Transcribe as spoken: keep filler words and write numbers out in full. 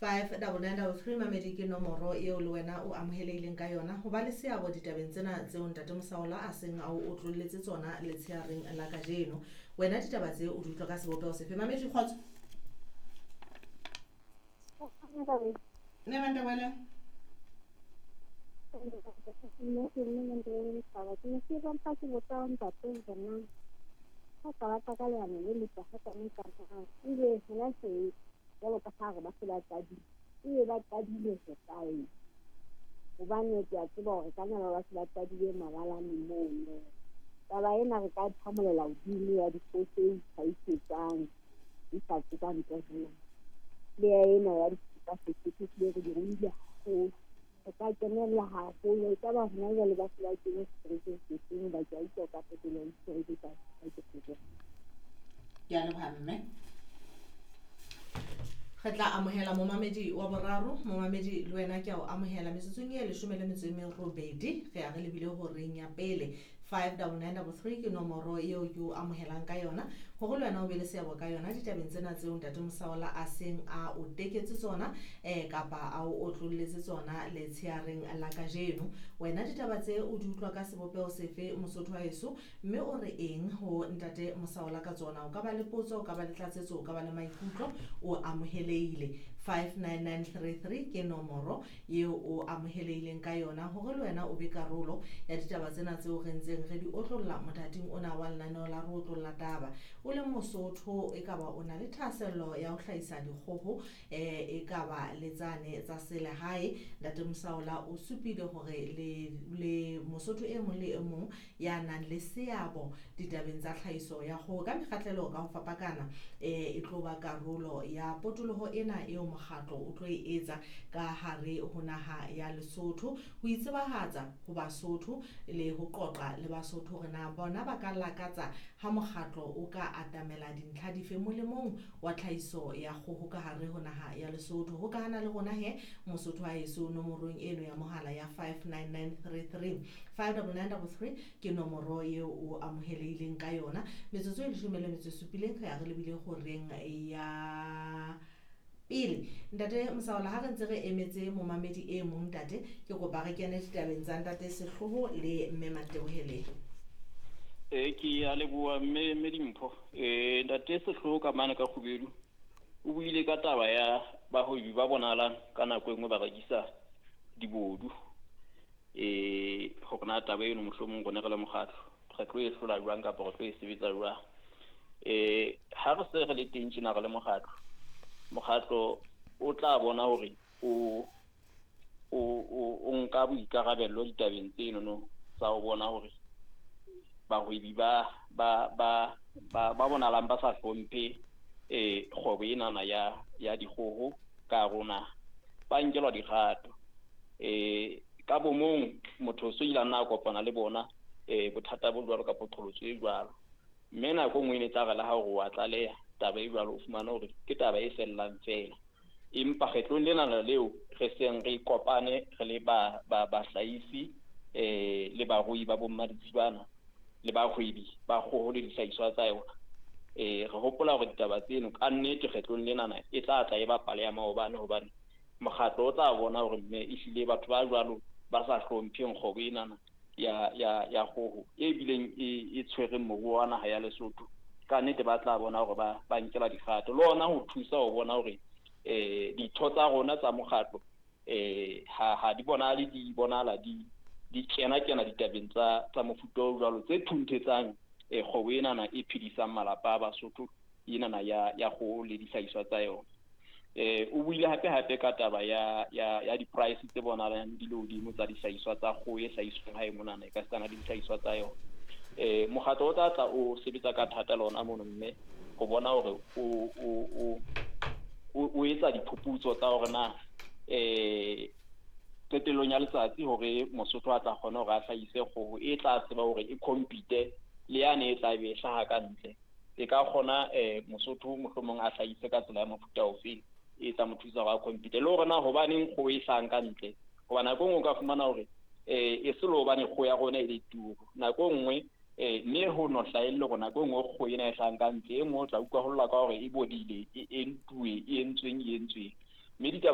Five double nine double three mamedi ke nomoro eo le wena o amohelehileng ka yona ho ba le seabo ditabeng tsena tseo ntate Mosaola a seng a o otlolletse tsona letsheareng la kajeno. Wena ditaba tse o di utlwa ka sebopeho sefe? Mamedi, kgotso. Ne Mandebele. Nna ke mme Mandebele Letaba. Ke ne ke mpa ke botsa ntate hore na ha ka batla ka leano le letle ha ka nka ebe hona se jwalo ka ha re ba se ba qadile, ebe ba qadile ho kae? Hobane ke a tseba hore ka nna ba se ba qadile mabalane mono. Taba ena re ka phamolela hodimo ya dikgoho tse itlhahisetsang di sa tswe ka ntle ho naha. Le ya ena ya tsa Sesotho ehlile re di ruile haholo. Re ka kenella haholo, ekaba hona jwale ba se ba kene seterekeng sefeng hoba ke a utlwa o ka fetola ditereke tsa. Ke a leboha mme. Re tla amohela momamedi wa boraro. Momamedi le wena ke a o amohela metsotsong e leshome le metso e merobedi. Re ya re lebile horeng ya pele. Five double nine double three ke nomoro eo ke o amohelang ka yona hore le wena o be le seabo ka yona ditabeng tsena tseo ntate Mosaola a seng a o teketse tsona eh kapa a o otlolletse tsona letsheareng la kajeno. Wena ditaba tse o di utlwa ka sebopeho sefe Mosotho wa heso, mme o re eng ho ntate Mosaola ka tsona? O ka ba le potso, o ka ba le tlatsetso, o ka ba le maikutlo, o amohelehile. Five nine nine three three ke nomoro eo o amohelehileng ka yona hore le wena o be karolo ya ditaba tsena tseo re ntseng re di otlolla mothating ona wa lenaneo la re otlolla taba. O le Mosotho, e ka ba o na le thahasello ya ho hlahisa dikgoho eh e ka ba le tsane tsa selehae. Ntate Mosaola o supile hore le le Mosotho e mong le e mong ya nang le seabo ditabeng tsa tlhahiso ya kgoho ka mekgahlelo ka ho fapakana eh e tlo ba karolo ya potoloho ena eo mokgatlo o tlo e etsa ka hare ho naha ya Lesotho, ho itsebahatsa ho Basotho le ho qoqa le Basotho hore na bona ba ka lakatsa ha mokgatlo o ka atamela dintlha dife molemong wa tlhahiso ya kgoho ka hare ho naha ya Lesotho. Ho ka hana le rona he Mosotho wa heso nomorong eno ya mohala ya five nine nine three three. Five double nine double three ke nomoro eo o amohelehileng ka yona. Metsotso e leshome le metso e supileng re ya re lebile horeng ya pele. Ntate Mosaola, ha re ntse re emetse momamedi e mong ntate, ke kopa re kene ditabeng tsa ntate Sehloho le mme Matebohele. E ke a leboha mme mme Dimpho. Eh ntate Sehloho ka mane ka Kgubedu o buile ka taba ya bahwebi ba bonahalang ka nako e nngwe ba rekisa dibodu. Eh hore na taba eno mohlomong rona re le mokgatlo re tlo e hlola jwang kapa re tlo e sebetsa jwang. Eh ha re se re le teng tjena re le mokgatlo, mokgatlo o tla bona hore o o o nka boikarabello ditabeng tseno tsa ho bona hore bahwebi ba ba ba ba ba bonahalang ba sa hlomphe eh kgwebo enana ya ya dikgoho ka rona ba nkelwa dikgato. Eh ka bomong motho so ile a nna a kopana le bona eh bothata bo jwalo kapa qholotso e jwalo, mme nako e nngwe e ne tla re le ha hore wa tlaleha taba e jwalo, o fumane hore ke taba e fellang feela. Empa kgetlong lena leo re seng re kopane re le ba ba bahlahisi eh le barui ba bommaditsibana le bahwebi ba kgoho le dihlahiswa tsa yona. Eh re hopola hore ditaba tseno ka nnete kgetlong lenana e tla tla e bapale ya maobane, hobane mokgatlo o tla bona hore mme ehlile batho ba jwalo ba sa hlompheng kgwebo enana ya ya ya kgoho e bileng e e tshwereng moruo wa naha ya Lesotho, ka nnete ba tla bona hore ba ba nkela dikgato le ona ho thusa ho bona hore eh ditho tsa rona tsa mokgatlo eh ha ha di bonahale di bonahala di di kena kena ditabeng tsa tsa mofuta o jwalo tse thunthetsang eh kgwebo enana e phedisang malapa a Basotho enana ya ya kgoho le dihlahiswa tsa yona. Eh o buile hape hape ka taba ya ya ya di-price tse bonahalang di le hodimo tsa dihlahiswa tsa kgoho e hlahiswang hae monana e ka setsana le dihlahiswa tsa yona. Eh mokgatlo o tla tla o sebetsa ka thata le ona mono mme ho bona hore o o o o etsa diphuputso tsa hore na eh qetellong ya letsatsi hore Mosotho a tla kgona hore a hlahise kgoho e tla tseba hore e compete le yane e tla be e hlaha ka ntle. E ka kgona eh Mosotho mohlomong a hlahise ka tsela ya mofuta ofe e tla mo thusa hore a compete, le hore na hobaneng kgoho e hlahang ka ntle, hoba nako e nngwe o ka fumana hore eh e se le hobane kgoho ya rona e le turu, nako e nngwe eh mme ho no hlahelle hore nako e nngwe kgoho ena e hlahang ka ntle e nngwe o tla utlwa ho lla ka hore e bodile, e entuwe, e entsweng, e entsweng. Mme ditaba